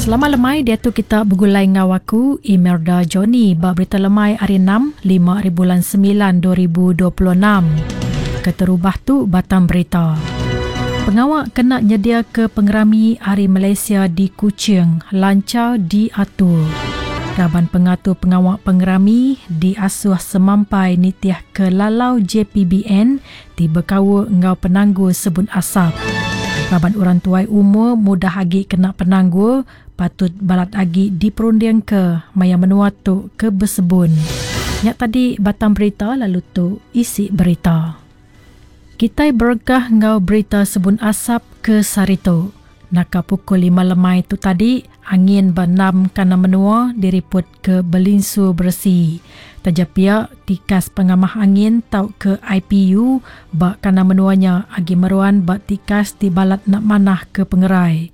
Selamat lemai diatu kita begulai enggau aku Imelda Johnny ba berita lemai hari 6 5 hari bulan 9 2026. Keterubah tu batang berita. Pengawa kena nyediaka pengerami Hari Malaysia di Kuching lanchar diatur. Raban pengatur pengawa pengerami diasuh semampai nitihka lalau JPBN ti bekaul enggau penanggul sebun asap. Raban orang tuai umur mudah agi kena penanggul patut balat agi diperundingka maya menua tu ke besebun. Nya tadi batang berita lalu tu isi berita. Kitai berengkah enggau berita sebun asap ke sehari tu. Naka pukul lima lemai tu tadi, angin ba enam kandang menua diripotka belinsur beresi. Taja pia, tikas pengamah angin tauka IPU ba kandang menua nya agi meruan ba tikas ti balat enda manah ke pengerai.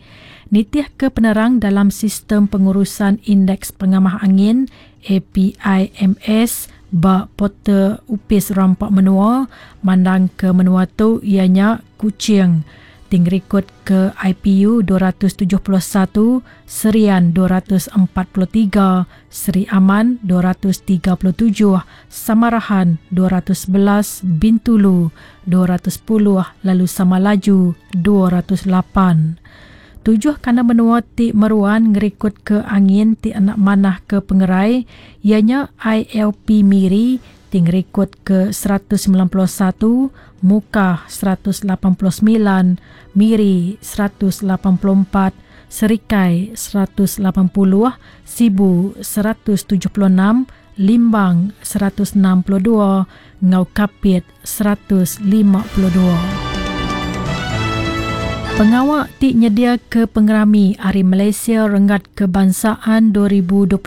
Nitihka penerang dalam Sistem Pengurusan Indeks Pengamah Angin, APIMS, ba portal Opis Rampa Menua, mandangka menua tu iya nya Kuching, ti ngerikod ke IPU 271, Serian 243, Sri Aman 237, Samarahan 211, Bintulu 210 lalu Samalaju 208. Tujuh kandang menua ti meruan ngerikod ke angin ti enda manah ke pengerai iya nya ILP Miri ti ngerikod ke 191, Mukah 189, Miri 184, Serikai 180, Sibu 176, Limbang 162 enggau Kapit 152. Pengawa ti nyediaka pengerami Hari Malaysia Renggat Kebangsaan 2026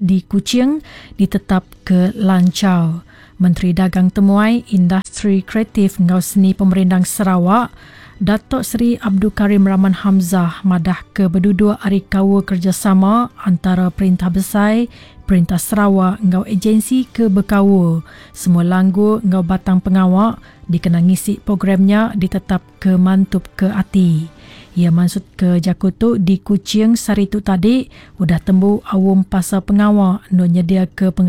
di Kuching ditetapka lanchar. Menteri Dagang Temuai, Industri Kreatif enggau Seni Pemerindang Sarawak, Datuk Seri Abdul Karim Rahman Hamzah madahka beduduk ari kaul kerejasama antara Perintah Besai, Perintah Sarawak enggau ejensi ke bekaul. Semua langgur enggau batang pengawa dikena ngisi program nya ditetapka mantupka ati. Iya mansutka jaku tu di Kuching sehari tu tadi udah tembu aum pasal pengawa endur nyediaka pengerami.